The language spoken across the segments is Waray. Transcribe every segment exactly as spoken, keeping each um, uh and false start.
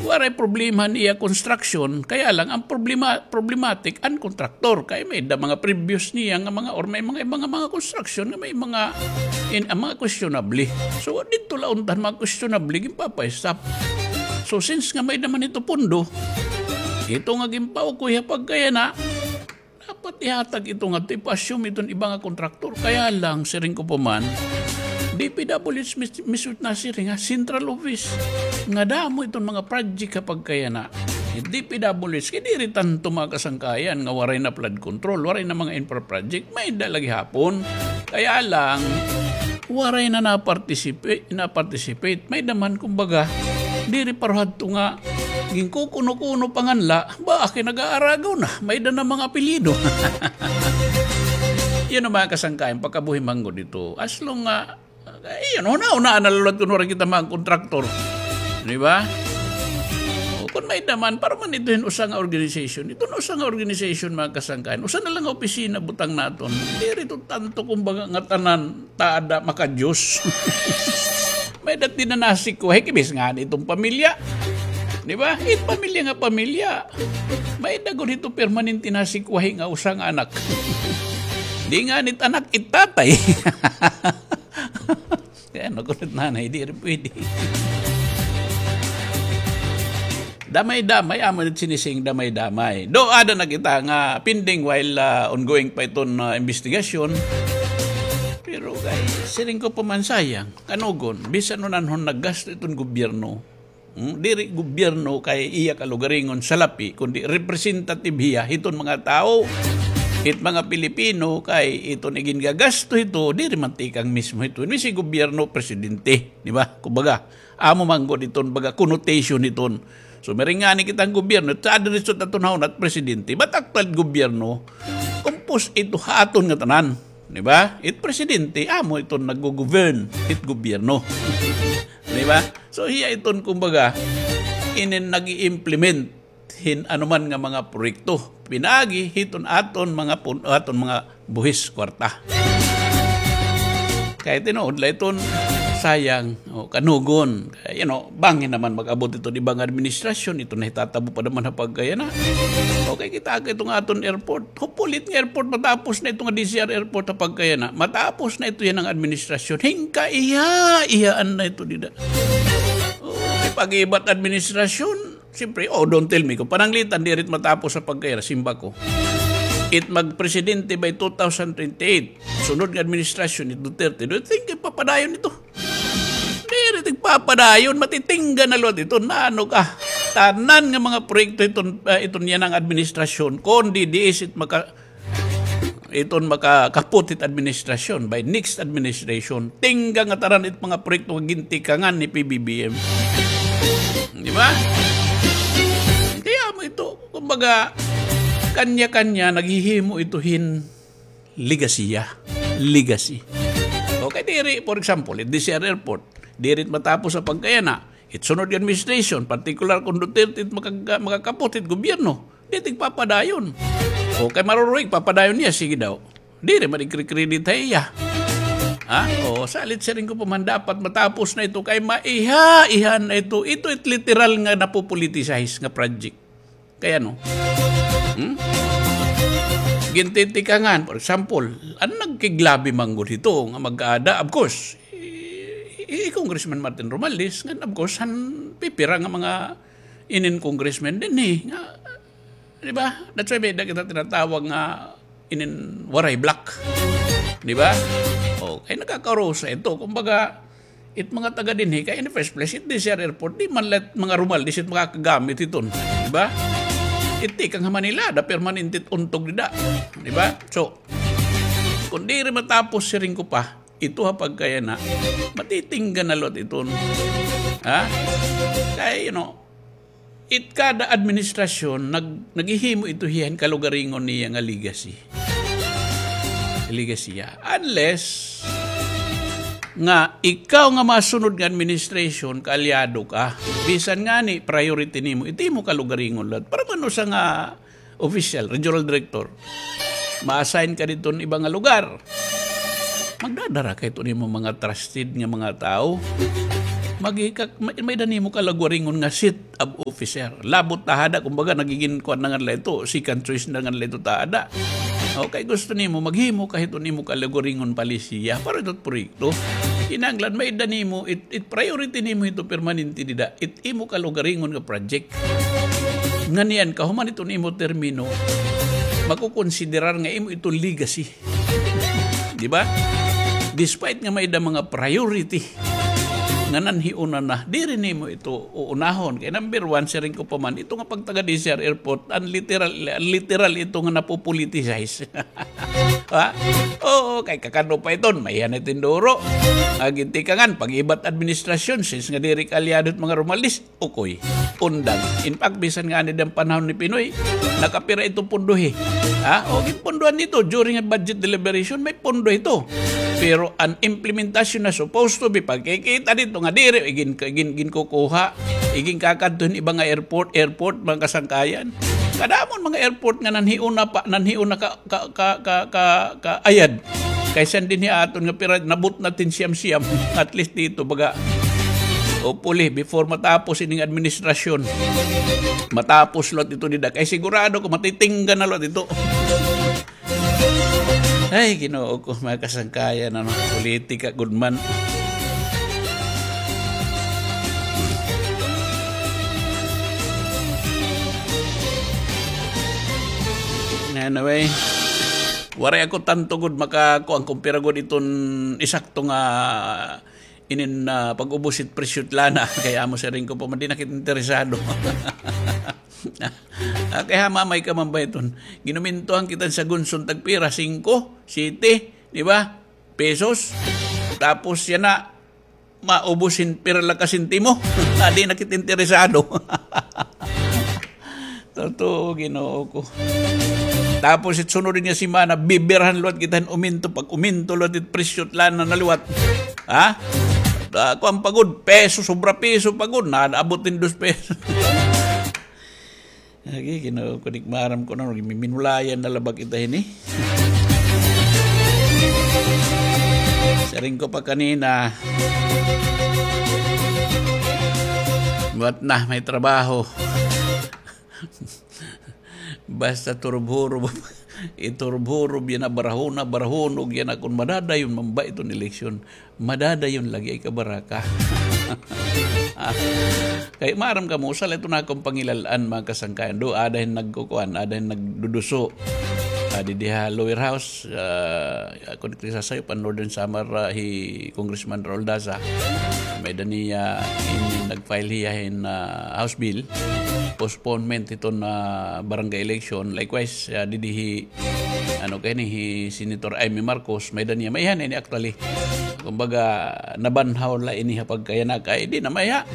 Waray problema niya construction, kaya lang ang problema, problematic ang contractor. Kay may da mga previous niya nga mga, or may mga, mga, mga construction nga may mga, in, ang mga questionable. So, dito la unta mga questionable, ginpapa-stop. So, since nga may naman ito pundo, ito nga ginpaukoy ha pagkayana, dapat ihatag ito nga ipa-assume iton iba nga kontraktor. Kaya lang, siring ko pa man, D P W H mis-, mismo nasiring ha central office. Nga damo iton mga project ha pagkayana. D P W H, kay diri tanto mga kasangkayan nga waray na flood control, waray na mga infra project, may da la gihapon. Kaya lang, waray na na-participate, na-participate. May da man, kumbaga, diri paruhadto nga ginkukuno-kuno pa ngan la, ba, kay nag-aaragaw na, may da na mga apelyido. Yun ang mga kasangkayan, pagkabuhi man gud ito. As long nga, eh, yun, una-una, na la liwat kun waray kita mga kontraktor. Di ba? O, kun may da man, para man ito hin usa nga organization. Ito na usa nga organization, mga kasangkayan. Usa na lang nga opisina, butang naton. Diri ito tanto, kumbaga, nga tanan, taada maka-Diyos. May da it dinanasikwahi, kibis nga ni iton pamilya. Di ba? It pamilya nga pamilya. May da gud ito permanente nasikwahi nga usa nga anak. Di nga ni it anak, it tatay. Kay ano gud it nanay, diri pwede. Damay-damay, amo na it sinising damay-damay. Do, ada na kita nga pending while, ah, ongoing pa iton, ah, investigasyon. Pero kay, siring ko pa man sayang, kanugon, bisan unanhon naggasto iton gobyerno. Hmm? Diri gobyerno kay iya kalugaringon salapi, kundi representative hiya hiton mga tawo. It mga Pilipino kay iton igingagasto hito, diri man tikang mismo hito. Mismo gobyerno, presidente, di ba? Kumbaga, amo man gud iton baga connotation hiton. So, miring ngani kita nga gobyerno, it sa diretso ta tunahon it presidente. But actual gobyerno, kumpos ito ha aton nga tanan. Di ba? It presidente, amo iton naggo-govern, it gobyerno. Di ba? So, hiya iton, kumbaga, inin nag-i-implement hin anuman nga mga proyekto. Pinaagi hiton aton mga pun-, aton mga buhis kwarta. Kay tinuod la iton, sayang, o, kanugon. Kay, you know, bangin naman mag-abot iton iba nga administrasyon, iton nahitatabo pa naman ha pagkayana. Okay, kita ka iton aton airport. Hopefully, it nga airport, matapos na ito nga D Z R airport ha pagkayana. Matapos na ito yana nga administrasyon. Hingka, iya, iyaan na ito dida. O, pag-iba it administrasyon, siyempre, oh, don't tell me, kun pananglitan, diri it matapos ha pagkayana, simba ko. It magpresidente by two thousand twenty-eight. Sunod nga administrasyon ni Duterte. Do you think ipapadayon ito? Diri tigpapadayon, matitingga na liwat ito. Naano ka? Tanan nga mga proyekto iton, ah, iton yana nga administrasyon. Kon D D S it maka-, iton makakapot it administrasyon, by next administration, tingga nga tanan it mga proyekto nga gintikangan ni P B B M. Di ba? Kaya mo ito, kumbaga, kanya-kanya naghihimo ito hin legacy, ah. Legacy. Okay, diri, for example, it D Z R Airport, diri it matapos ha pagkayana. It sunod nga administration, particular kon Duterte it makag-, makakapot it gobyerno, diri tigpapadayon. Okay, Maruruyg, papadayon niya, sige daw. Diri man igkre-credit ha iya. Ha? O, salit siring ko pa man, dapat matapos na ito kay maiha-ihan na ito. Ito it literal nga napopoliticize nga project. Kay ano? Hmm? Gintitikangan, for example, an nagkiglabi man gud hito nga mag-aada, of course, hi, hi Congressman Martin Romualdez, ngan of course, han pipira nga mga inin congressman dinhi, nga, di ba? That's why may da kita tinatawag nga inin Waray Bloc. Di ba? O, kay nakakarusa ito. Kumbaga, it mga taga dinhi, kay in the first place, it D Z R Airport, di man la it mga Romualdez it makakagamit hiton. Di ba? It tikang ha Manila, da permanente it untog dida. Di ba? So, kon diri matapos, siring ko pa, ito ha pagkayana, matitingga na liwat iton. Ha? Kay, you know, it kada administrasyon, nag-, naghihimo ito hiya hin kalugaringon niya nga legacy. Legacy hiya. Unless nga ikaw nga masunod nga administration, kaalyado ka. Bisan ngani, priority nimo, ito imo kalugaringon liwat. Para man usa nga official, regional director, ma-assign ka didto nga iba nga lugar. Magdadara ka hito nimo mga trusted nga mga tawo. Magi-, ka-, may, may-ada nimo kalugaringon nga seat of officer. Labot ta hada, kumbaga, nagigin kuan na nga nila ito, second choice na nga nila ito ta hada. Okay, gusto nimo, maghimo ka hiton imo kalugaringon palisiya para ito proyekto. Kinahanglan, may-ada nimo, it, it priority nimo ito permanente dida, it imo kalugaringon nga project. Ngan kahuman iton imo termino, makukonsiderar nga imo iton legacy. Di ba? Despite nga may-ada mga priority nga nanhiuna na, diri nimo ito uunahon. Kay number one, siring ko pa man, ito nga pagtaga D C R Airport, an literal, an literal ito nga napopoliticize. Ha? Oo, kay kakano pa iton, may-ada na tinduro. Gintikangan, pag-iba it administrasyon, since nga diri kaalyado it mga Romualdez, ukoy, undang. In fact, bisan ngani dida panahon ni Pinoy, nakapira ito pondo hi. Ha? O, ginpundohan ito during a budget deliberation, may pondo ito. Pero an implementasyon na supposed to be, pagkikita dito nga diri, igin, igin, ginkukuha, iginkakadto hin iba nga airport, airport, mga kasangkayan. Kadamo an mga airport nga nanhiuna pa, nanhiuna ka, ka, ka, ka, ka, kaayad. Kaysa dinhi aton nga pira, nabutnat hin siyam-siyam. At least dito, baga, hopefully, before matapos ining administrasyon, matapos liwat ito dida. Kay sigurado ko, matitingga na liwat ito. Ay, Ginoo ko, mga kasangkayan, ano, politika, good man. Anyway, waray ako tanto gud makakuan kon pira gud iton eksakto nga inin, ah, pag-ubos it presyo it lana. Kay amo siring ko pa man, di na kita interesado. Ah, kay hamamay ka man ba iton? Ginumintuhan kita sa Gunson tagpira, singko, siyete, di ba? Pesos. Tapos yana, maubos hin pira la ka sentimo. Ah, di na kita interesado. Totoo, Ginoo ko. Tapos it sunod nga semana, bibirahan liwat kita hin uminto. Pag-uminto liwat it presyo, lana na liwat. Ha? Ah, kuan pa gud, peso, sobra peso pa gud. Naabot hin dos pesos. Agi, Ginoo ko, di ko maaram kon ano, minulayan na la ba kita hini. Siring ko pa kanina, buhat na, may trabaho. Basta turubhurob, iturubhurob yana, barahona, barahona yana kon madadayon man ba iton eleksyon. Madadayon lagi ay kabaraka. Ah, kay maaram kamo, usa la iton akon pangilal-an, mga kasangkayan. Do, ada hin nagkukuan, ada hin nagduduso. Ah, didi ha lower house, ah, ako di sasayo pa Northern Samar, ah, hi Congressman Raul Daza. May-ada niya, in, nag-file hiya hin, ah, House bill, postponement hiton, ah, barangay election. Likewise, ah, didi hi ano kay ni, hi Senator Imee Marcos, may-ada niya, maiha na ini actually. Kumbaga, nabanhaw la ini ha pagkayana kay di na maiha.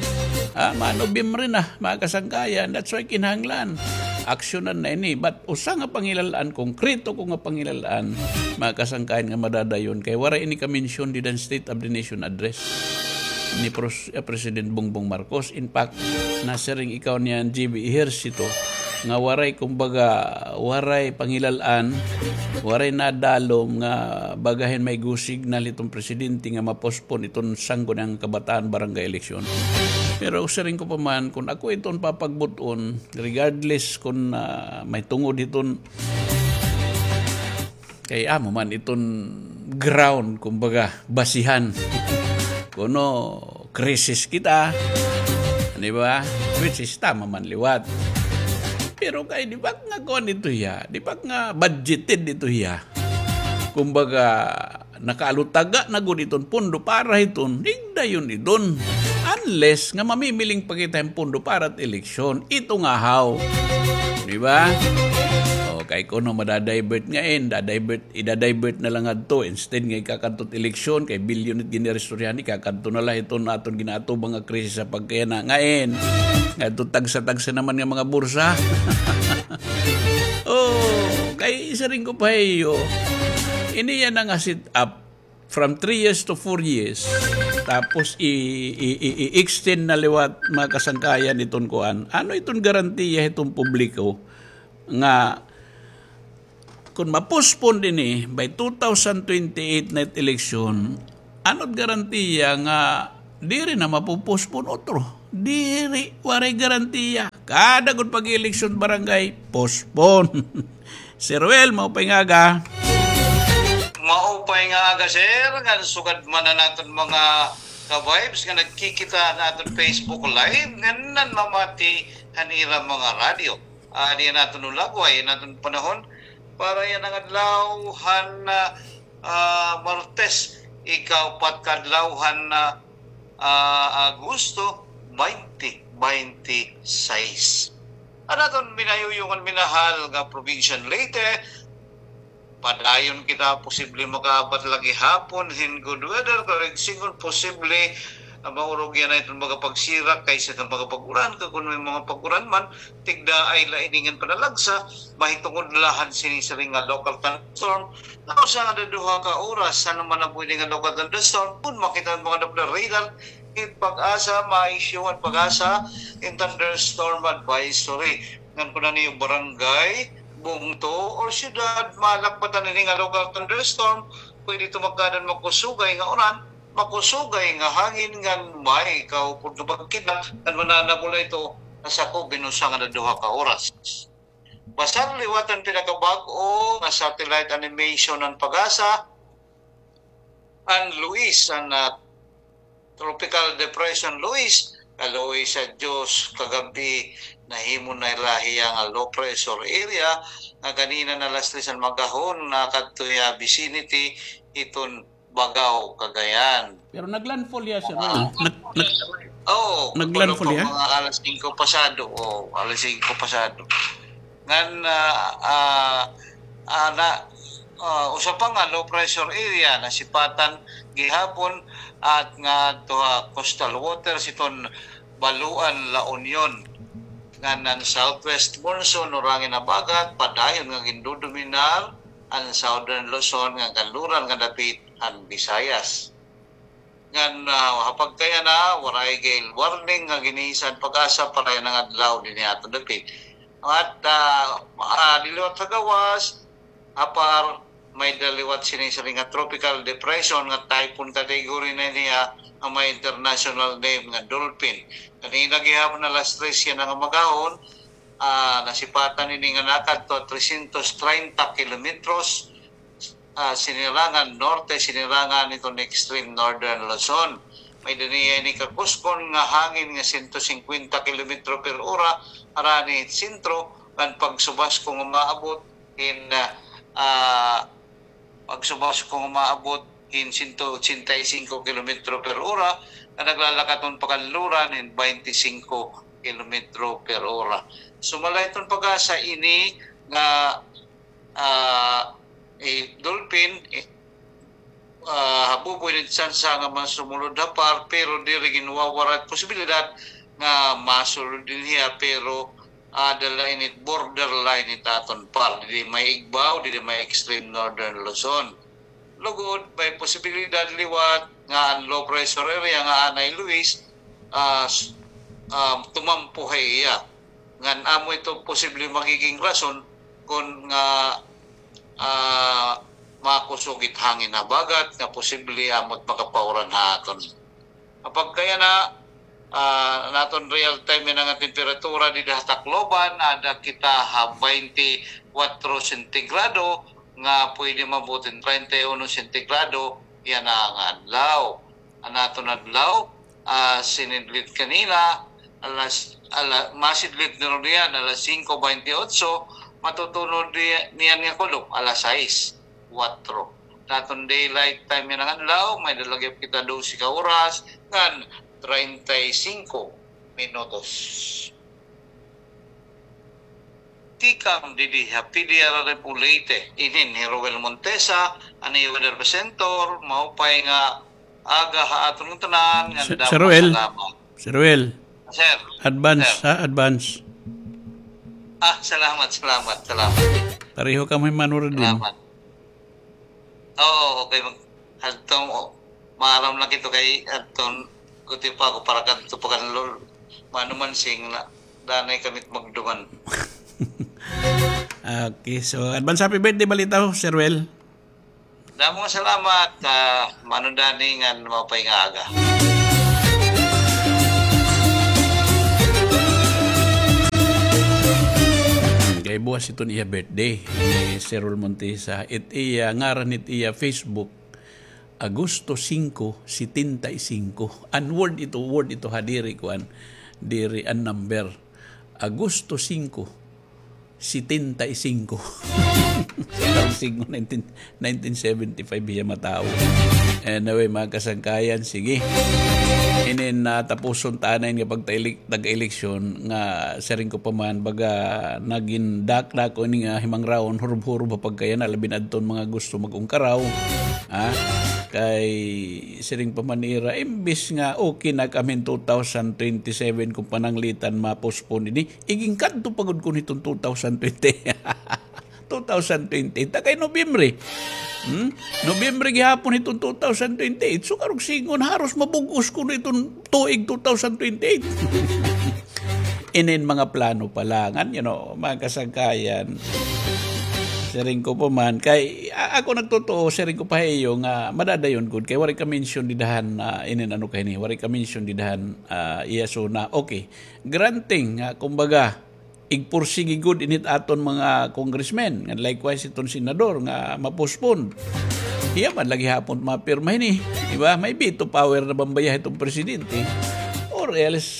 Ah, ma-Nobyembre na, mga kasangkayan. That's why kinahanglan aksyonan na ini. But usa nga pangilal-an, konkreto ko nga pangilal-an, mga kasangkayan, nga madadayon kay waray ini ka-mention dida han State of the Nation Address ni Pros-, eh, President Bongbong Marcos. In fact, nasiring ikaw niyan, G B Ejercito, nga waray, kumbaga, waray pangilal-an, waray nadalom nga baga hin may go signal hiton presidente nga ma-postpone iton Sangguniang Kabataan barangay election. Pero siring ko pa man, kon ako iton papagbut-on, regardless kon, ah, may tungod hiton Kay amo man iton ground, kumbaga, basihan. Kuno, krisis kita. Di ba? Which is tama man liwat. Pero kay, di ba nga kuan ito hiya? Di ba nga budgeted ito hiya? Kumbaga, nakaalutaga na gud iton pondo para hiton, higdayon iton. Unless nga mamimiling pa kita hin pondo para it eleksyon, ito nga haw. Di ba? O, kay kuno madadivert nga in, dadivert, idadivert na la ngadto. Instead nga ikakadto it eleksyon, kay bilyon it giniristoryahan, ikakadto na la hiton aton ginaatubang nga krisis ha pagkayana nga in. Ngadto tagsa-tagsa naman nga mga bursa. O, kay siring ko pa ha iyo, ini yana nga set up from three years to four years, tapos i, i, i, i-extend na liwat mga kasangkayan iton kuan. Ano iton garantiya hiton publiko nga kon ma-postpone ini by two thousand twenty-eight na it eleksyon, ano it garantiya nga Diri na mapopospon otro. Diri, waray garantiya. Kada gud pag-eleksyon barangay, postpone. Sir Ruel, maupay nga aga. Maupay nga aga, sir. Ngan sugad man an aton mga ka-vibes nga nagkikita han aton Facebook Live, ngan nanmamati han ira mga radyo. Ah, diyan naton ulagway, naton panahon para yana nga adlaw han, ah, ah, Martes, ikaupat ka adlaw han, ah, ah, Agosto, twenty twenty-six. An aton minayuyong ngan minahal nga probinsya han Leyte, padayon kita, posible makaabat la gihapon hin good weather, pero igsoon posible, ah, maurog yana iton mga pagsirak kaysa iton mga pag-uran, kag kon may mga pag-uran man, tigdaay la ini ngan panalagsa, mahitungod la han sini siring nga local thunderstorm, nga usa nga duha ka oras, ano man an pwede nga local thunderstorm, kon makita an mga Doppler radar, it PAGASA, ma-issue an PAGASA hin thunderstorm advisory. Ngan kon an iyo barangay, bungto, or syudad, malakbatan ini nga local thunderstorm, pwede ito magkaada hin makusugay nga uran, makusugay nga hangin ngan may kaupod nga pagkidlat, ngan mananabol ito nga sakob hin usa nga duha ka oras. Basar liwat an pinakabag-o nga satellite animation han PAGASA, an Luis, an, ah, Tropical Depression Luis, kaluoy sa Diyos, kagab-i nahimo na la hiya nga low pressure area, nga ganina nga alas tres han maghapon nakadto hiya vicinity hiton Bagao, Cagayan. Pero nag-landfall hiya, sir. Ah, nag-, nag-, oo, nag-landfall hiya? Mga alas singko pasado. Oo, alas singko pasado. Ngan, ah, ah, ah, na, ah, usa pa nga low pressure area nasipatan gihapon at ngadto ha coastal waters hiton Baluan, La Union. Ngan an southwest monsoon o hangin habagat padayon nga gindodominar an Southern Luzon ngan kanluran nga dapit han Visayas. Ngan, ah, ha pagkayana, waray gale warning nga ginisa han PAGASA para yana nga adlaw dinhi ha aton dapit. At, ah, ah, didi liwat ha gawas, ha PAR, may-ada liwat sini siring nga tropical depression nga typhoon category na niya nga may international name nga Dolphin. Ganina gihapon alas tres yana nga maghapon, ah, nasipatan ini nga nakadto trescientos treinta kilometros, ah, sinirangan norte, sinirangan hiton extreme northern Luzon. May-ada niya ini kakuskon nga hangin nga sento singkwenta kilometro per ora, harani hit sentro, ngan pagsubasko nga maabot hin, ah, ah, pagsubasko nga maabot hin sento otsenta y singko kilometro per ora, nga naglalakat hiton pakanluran hin baynte singko kilometro per ora. Sumala hiton PAGASA ini nga ah, eh, Dolphin, eh, ah, habubo ini tsansa nga masulod ha PAR, pero diri ginwawara it posibilidad nga masulod dinhi ha, pero, ah, aada la ini borderline hit aton PAR. Didi may igbaw, didi may extreme northern Luzon. Lugod, may posibilidad liwat nga an low pressure area nga anay Luis, ah, s-, ah, tumampo ha iya. Ngan amo ito posible magiging rason kon nga, ah, makusog it hangin habagat nga posible amo it makapauran ha aton. Ha pagkayana, ah, an aton real time yana nga temperatura dida ha Tacloban, aada kita ha baynte kwatro sentigrado nga pwede maabot hin treinta y uno sentigrado yana nga adlaw. An aton adlaw, ah, sinidlit kanina, alas, ala-, masidlit na runo niyan, alas singko baynte otso, matutunod ni-, niyan nga kulop, alas sais kwatro. An aton daylight time yana nga adlaw, may-ada la gihap kita dose ka oras, ngan treinta y singko minutos. Tikang didi ha P D R R M Leyte, inin hi Roel Montesa, an iyo weather presenter, maupay nga aga ha aton ngatanan, ngan damo nga salamat. Sir Roel. Sir Roel. Advance, ha? Advance. Ah, salamat, salamat, salamat. Pareho kamo hin Mano Rodin. Salamat. Oo, okay. Mag-, adto, o, maaram na kita kay adto, kuti pa ako para kadto pa kan Lol-, Mano Mansing na, danay kami magduman. Okay, so advance happy birthday, balita ho, Sir Roel. Damo nga salamat, ah, Mano Danny, ngan maupay nga aga. Iton iya birthday ni Sir Rol Montesa. It iya, ngaran it iya Facebook, Agosto singko, setenta y singko. An word ito, word ito ha, diri kuan, diri an number. Agosto singko, setenta y singko. Sa taon singko, nineteen, nineteen seventy-five hiya matawo. Anyway, mga kasangkayan, sige. Inin, ah, tapuson ta anay nga pagtaili-, tag-eleksyon nga siring ko pa man, baga nagin dakdako ini nga himangraon, hurob-hurob ha pagkayana, labi na adton mga gusto mag-ungkaraw. Ha? Kay siring pa man nira, imbis nga okay na kami two thousand twenty-seven kon pananglitan ma-postpone ini, igin kadto pa gud ko hiton two thousand twenty. Two thousand twenty-eight, ta kay Nobyembre. Hmm? Nobyembre gihapon hiton two thousand twenty-eight. So, karuyag sidngon, haros mabug-os kuno iton tuig two thousand twenty-eight. Inin mga plano pa la ngan, you know, mga kasangkayan. Siring ko pa man, kay, a-, ako nagtotoo, siring ko pa ha iyo nga madadayon gud, kay waray ka mention dida han, ah, inin ano kay ini, waray ka mention dida han, ah, iya SONA. Okay, granting nga, kumbaga, igpursigi gud ini it aton mga congressmen, nga likewise iton senador nga ma-postpone. Hiya man la gihapon mapirma hini, di ba? May veto power na ba baya iton presidente? Or else,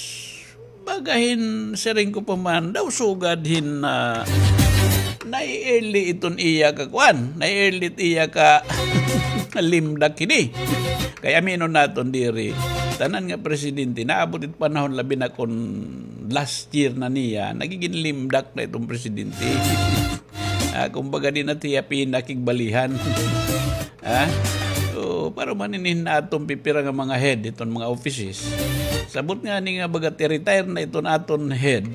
baga hin siring ko pa man, daw sugad hin, ah, nai-early iton iya ka kuan, nai-early it iya ka limdak hini. Kay aminon naton diri, tanan nga presidente, naabot it panahon labi na kon last year na niya, nagigin limdak na iton presidente. Ah, kumbaga, di na tiya pinakigbalihan. Ha? So, para man inin aton pipira nga mga head iton mga offices. Sabot ngani nga baga ti-retire na iton aton head,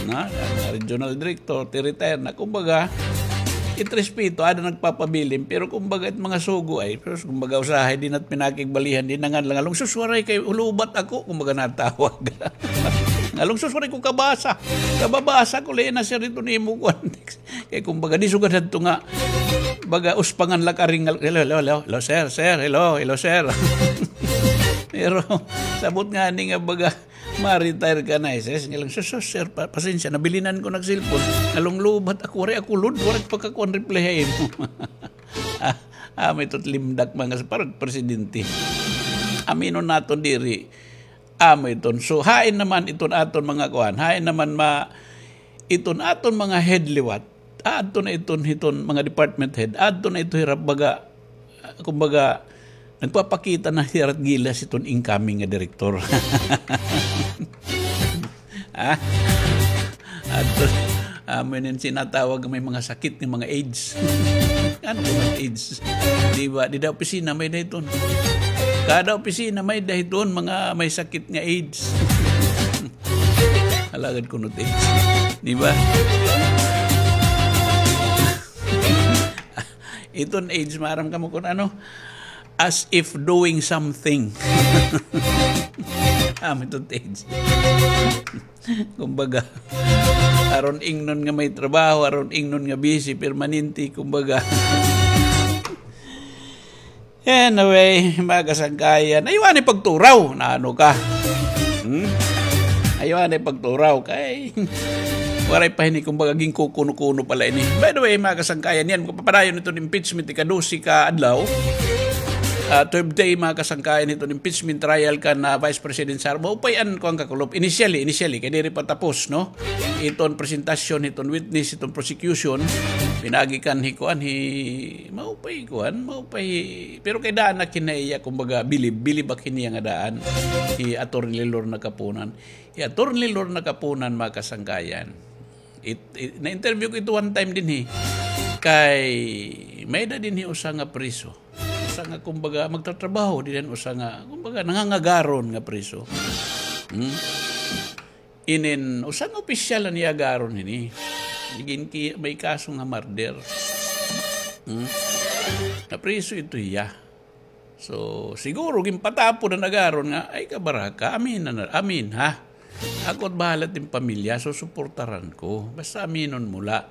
na, nga regional director, ti-retire na. Kumbaga, it respeto, ada nagpapabilin, pero kumbaga, it mga sugo ay, pero kumbaga, usahay, di na it pinakigbalihan, di na ngan la ngalong, "Sus, waray kay lubat ako," kumbaga, natawag. Ngalong, "Sus, waray ko kabasa. Kababasa ko, lain na, sir, ito nimo kuan." Kay kumbaga, di sugad hadto nga, baga, uspangan la ka ring, "Hello, hello, hello, hello, sir, sir, hello, hello, sir." Pero, sabot ngani nga, baga, ma-retire ka na, eh, sis. Ngalong, "Sus, sus, sir, pa-, pasensya, nabilinan ko nag-cellphone. Ngalong lubat ako, waray ako load, waray pagkakuan reply ha imo." Ah, amo ito it limdak, mga sa-, parang presidente. Aminon naton diri. Amo iton. So, hain naman iton aton mga kuan. Hain naman ma-, iton aton mga head liwat. Adto na iton hiton mga department head. Adto na ito hira baga, kumbaga, nagpapakita na hira gilas iton incoming nga direktor. Ha? Adto, amo inin sinatawag nga may mga sakit nga mga AIDS. Ano ba ang AIDS? Di ba? Dida opisina may-ada hiton. Kada opisina may-ada hiton mga may sakit nga AIDS. Alagad kuno it AIDS. Di ba? Iton AIDS, maaram kamo kon ano? As if doing something. Amo iton AIDS. Kumbaga, aron ingnon nga may trabaho, aron ingnon nga busy, permanente, kumbaga. Anyway, mga kasangkayan, ayaw anay pagturaw. Naano ka? Hmm? Ayaw anay pagturaw kay waray pa hini, kumbaga, ginkukuno-kuno pa la ini. By the way, mga kasangkayan, yana, magpapadayon iton impeachment, ika-dose ka adlaw. Ah, twelve day, mga kasangkayan, iton impeachment trial kan Vice President Sara. Maupay an kuan kakulop. Initially, initially, kay diri pa tapos, no? Iton presentasyon, iton witness, iton prosecution, pinaagi kan hi kuan, hi, maupay kuan, maupay, pero kay daan ak hin iya, kumbaga, bilib, bilib ak hin iya nga daan, hi Attorney Lorna Kapunan. Hi Attorney Lorna Kapunan, mga kasangkayan. It, it, na-interview ko ito one time dinhi. Kay, may-ada dinhi usa nga priso. Usa nga, kumbaga, magtatrabaho dinhi, usa nga, kumbaga, nangangagaron nga priso. Hmm? Inin, usa nga opisyal an iya agaron hini. Ginki-, may kaso nga murder. Hmm? Napriso ito hiya. So, siguro, ginpatapod an agaron nga, "Ay, kabaraka, amin na, amin, ha? Ako it bahala it im pamilya, susuportaran ko. Basta aminon mo la."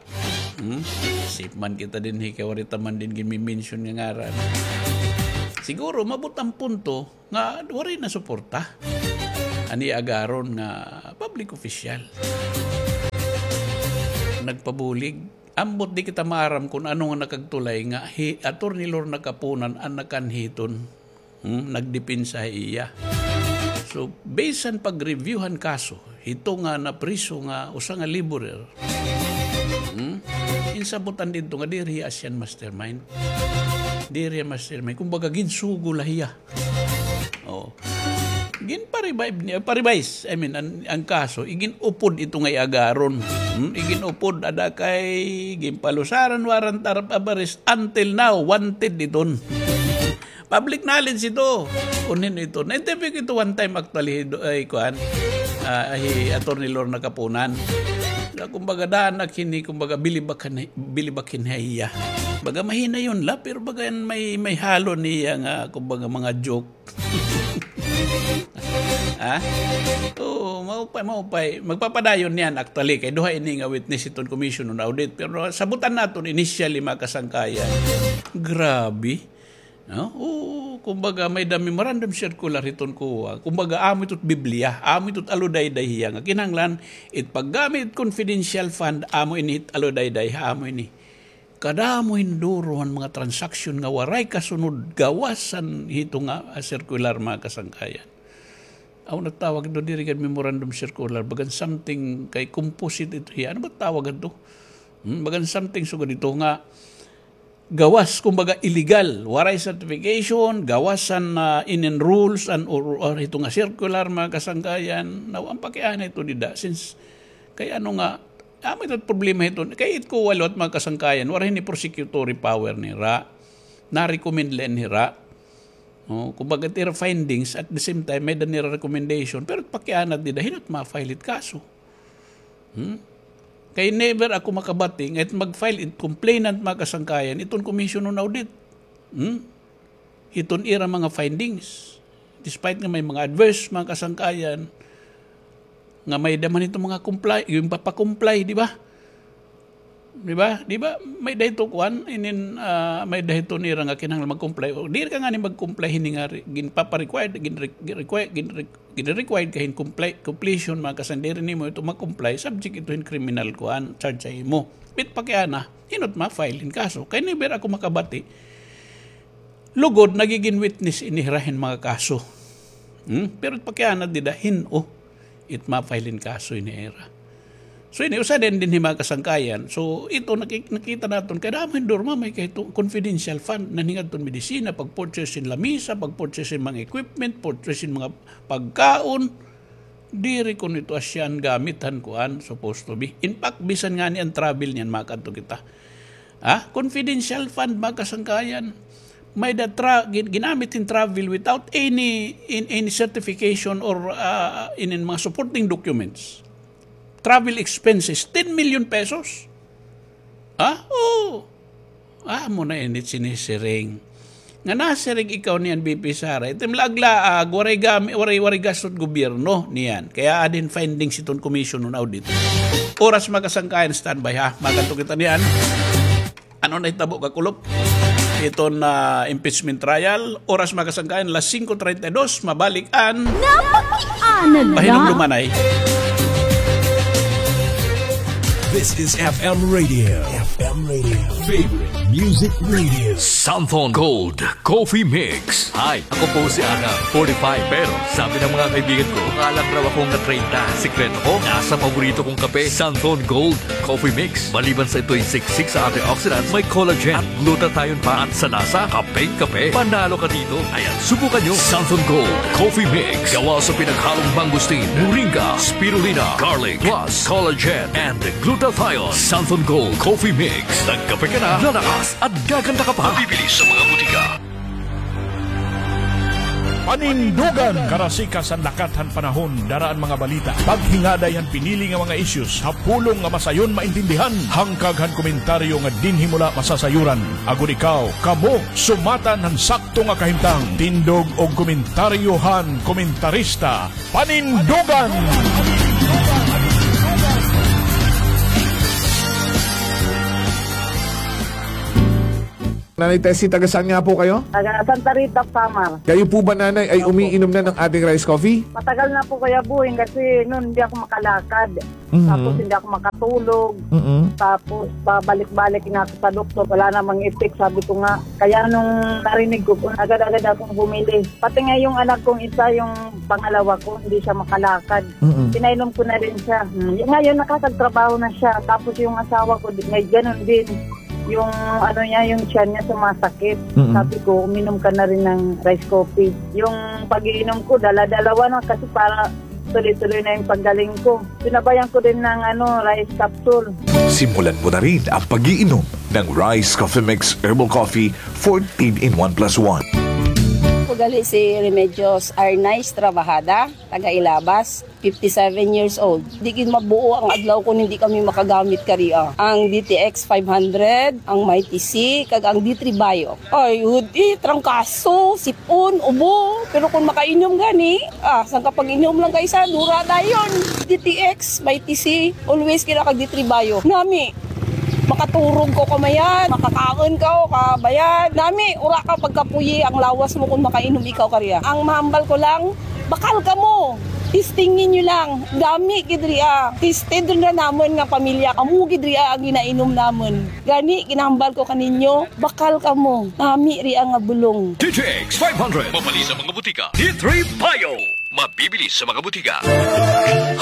Hmm? Safe man kita dinhi kay waray ta man din ginmi-mention nga ngaran. Siguro, maabot an punto nga waray na suporta an iya agaron nga public official. nagpabulig. Ambot di kita maaram kon ano nga nakagtulay nga hi Attorney Lorna Kapunan an nakanhi hiton, hmm, nagdepensa ha iya. So, bisan pag-review han kaso, hito nga napriso nga usa nga laborer, hmm, insabutan didto nga diri hiya asya an mastermind. Diri hiya mastermind. Kumbaga, ginsugo la hiya. Oh. Ginpa-revive niya, pa-revise, I mean, an, an kaso, igin-upod ito nga iagaron. Hmm? Igin-upod, ada kay ginpalusaran warrant of arrest until now, wanted iton. Public knowledge ito. Kun hin-o ito. Na-interview ko ito one time actually, do, ay, kuan, ah, hi Attorney Lorna Kapunan. Na kumbaga, daan ak hini, kumbaga, bilibak hin-, bilibak hin ha iya. Baga mahinayon la, pero baga may, may halo niya nga, kumbaga, mga joke. Ha? Oo, maupay, maupay. Magpapadayon niyan, actually, kay duha ini nga witness iton Commission on Audit. Pero sabutan naton initially, mga kasangkayan. Grabe. No? Oo, kumbaga, may-ada memorandum circular hiton kuan. Kumbaga, amo ito't Biblia, amo ito't aludayday hiya nga kinahanglan, it paggamit confidential fund, amo ini it aludayday, amo ini. Kadamo hin duro han mga transaksyon nga waray kasunod gawas han hito nga, ah, circular, mga kasangkayan. Aw, natawag ito, diri gad memorandum circular, bagan something kay composite ito hiya. Ano ba tawag ito? Hmm, bagan something sugad ito nga gawas, kumbaga, illegal, waray certification, gawas han, ah, inin rules, an, or, or ito nga circular, mga kasangkayan. Now, an pakiana ito dida, since, kay ano nga, amo ito problema ito, kay it COA law, mga kasangkayan, waray hini prosecutory power nira, na-recommend la hira. Oh, kumbaga, it ira findings, at the same time, may-ada nira recommendation, pero pakiana dida, hin-o it ma-file it kaso. Hmm? Kay never ako makabati nga it mag-file it complainant, mga kasangkayan, iton Commission on Audit. Hmm? Hiton ira mga findings. Despite nga may mga adverse, mga kasangkayan, nga may-ada man ito mga comply, ginpapakomply, di ba? Di ba? Di ba? May-ada ito kuan, inin, ah, may-ada ito nira nga kinahanglan mag-comply. O, diri ka ngani mag-comply hini nga re-, ginpapa-required, ginre-, ginrequire, ginre-, gin-required ka hin compli-, completion, mga kasangkayan, diri nimo ito ma-comply, subject ito hin criminal kuan, charge sa imo. It pakiana, hin-o it ma-file hin kaso. Kay never ako makabati. Lugod, nagigin witness ini hira hin mga kaso. Hmm? Pero it pakiana dida, hin-o it ma-file hin kaso ini hira. So, ini, usa din dinhi, mga kasangkayan. So, ito, naki-, nakita naton, kay damo hin dorma, may kay ito, confidential fund, nanhingadton medisina, pag-purchase hin lamisa, pag-purchase hin mga equipment, purchase hin mga pagkaon, diri kuno ito asya an gamit han kuan, supposed to be. In fact, bisan ngani an travel niyan, makadto kita. Ha? Confidential fund, mga kasangkayan. May-ada tra-, gin-, ginamit hin travel without any, in, any certification or, ah, in, in mga supporting documents. Travel expenses, ten million pesos. Ha? Oo. Ah, amo na ini it sinisiring. Nga nasiring ikaw niyan, V P Sara. Itim laag-laag, waray gami-, waray, waray gasto it gobyerno niyan. Kay aada hin findings iton Commission on Audit. Oras, mga kasangkayan, standby ha. Makadto kita niyan. Ano nahitabo, Kakulop? Iton, ah, impeachment trial. Oras, mga kasangkayan, las singko treinta y dos, mabalik an Napakiana la. Pahinumdumanay. This is F M Radio. F M Radio. Favorite music radio. Santhon Gold Coffee Mix. Hi, ako po si Ana, forty-five. Pero sabi ng mga kaibigan ko, mukha lang raw akong na treinta. Sikreto ko, nasa paborito kong kape, Santhon Gold Coffee Mix. Maliban sa ito'y siksik sa antioxidants, may collagen at glutathione pa. At sa lasa, kapeng-kape. Panalo ka dito. Ayan, subukan nyo. Santhon Gold Coffee Mix. Gawa sa pinaghalong mangosteen, moringa, spirulina, garlic, plus collagen and glutathione. Santhon Gold Coffee Mix. Nagkape ka na, lalakas at gaganda ka pa. Mabibili sa mga butika. Panindugan! Karasikas an lakat han panahon, dara an mga balita. Paghingaday han pinili nga mga issues ha pulong nga masayon maintindihan. Hangkag han komentaryo nga dinhi mo la masasayuran. Agod ikaw, kamo, sumatan han sakto nga kahimtang. Tindog og komentaryo han komentarista. Panindugan! Nanay Tessie, taga saan nga po kayo? Taga Santa Rita, Samar. Kayo po ba, Nanay, ay Opo. umiinom na ng ating rice coffee? Matagal na po, Kuya Boy, kasi noon hindi ako makalakad. Mhm. Tapos hindi ako makatulog. Mm-mm. Tapos pabalik-balik na ako sa doktor, wala namang effect, sabi ko nga. Kaya nung narinig ko po, agad-agad akong bumili. Pati nga yung anak kong isa, yung pangalawa ko, hindi siya makalakad. Mm-mm. Pinainom ko na rin siya. Hmm. Ngayon, nakakagtrabaho na siya. Tapos yung asawa ko, di- may ganun din. Yung ano niya, yung tiyan niya sumasakit. Mm-mm. Sabi ko, uminom ka na rin ng rice coffee. Yung pag-iinom ko, dala-dalawa na kasi para tuloy-tuloy na yung paggaling ko. Sinabayan ko din ng ano, rice capsule. Simulan mo na rin ang pag-iinom ng Rice Coffee Mix Herbal Coffee fourteen in one plus one. Ako gali si Remedios Arnaiz Trabajada, taga Ilabas, fifty-seven years old. Di gid mabuo ang adlaw kun hindi kami makagamit kariya. Ang D T X five hundred, ang Mighty C, kag ang D three Bio. Ay, hudi, trangkaso, sipon, ubo. Pero kung makainom gani, ah, sangka pag-inom lang kaysa, dura dayon. D T X, Mighty C, always kira kag D three Bio. Nami, makaturog ka kamayad, makakaon ka o kabayad. Nami, ura ka pagkapuyi ang lawas mo kung makainom ikaw kariya. Ang mahambal ko lang, bakal kamo. Testingin niyo lang. Dami gid ria. Tested na namon nga pamilya. Amo gid ria ang ginainom namon. Gani, ginahambal ko kaninyo, bakal kamo. Nami ria nga bulong. D T X five hundred. Mabibili sa mga butika. D three Bio. Mabibili sa mga butika.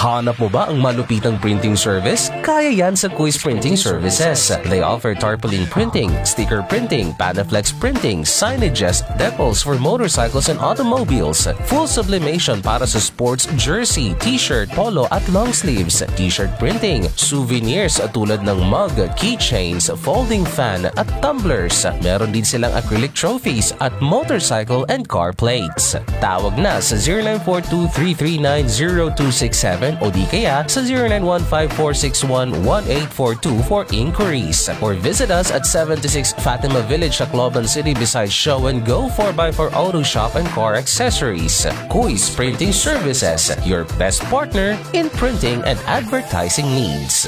Hanap mo ba ang malupitang printing service? Kaya yan sa Kuis Printing Services. They offer tarpaulin printing, sticker printing, Panaflex printing, signages, decals for motorcycles and automobiles, full sublimation para sa sports jersey, t-shirt, polo at long sleeves, t-shirt printing, souvenirs tulad ng mug, keychains, folding fan at tumblers. Meron din silang acrylic trophies at motorcycle and car plates. Tawag na sa zero nine four two three three nine zero two six seven o di kaya sa zero nine one five four six one one eight four two for inquiries. Or visit us at seventy-six Fatima Village, Tacloban City, beside Show and Go four by four Auto Shop and Car Accessories. Kuis Printing Services, your best partner in printing and advertising needs.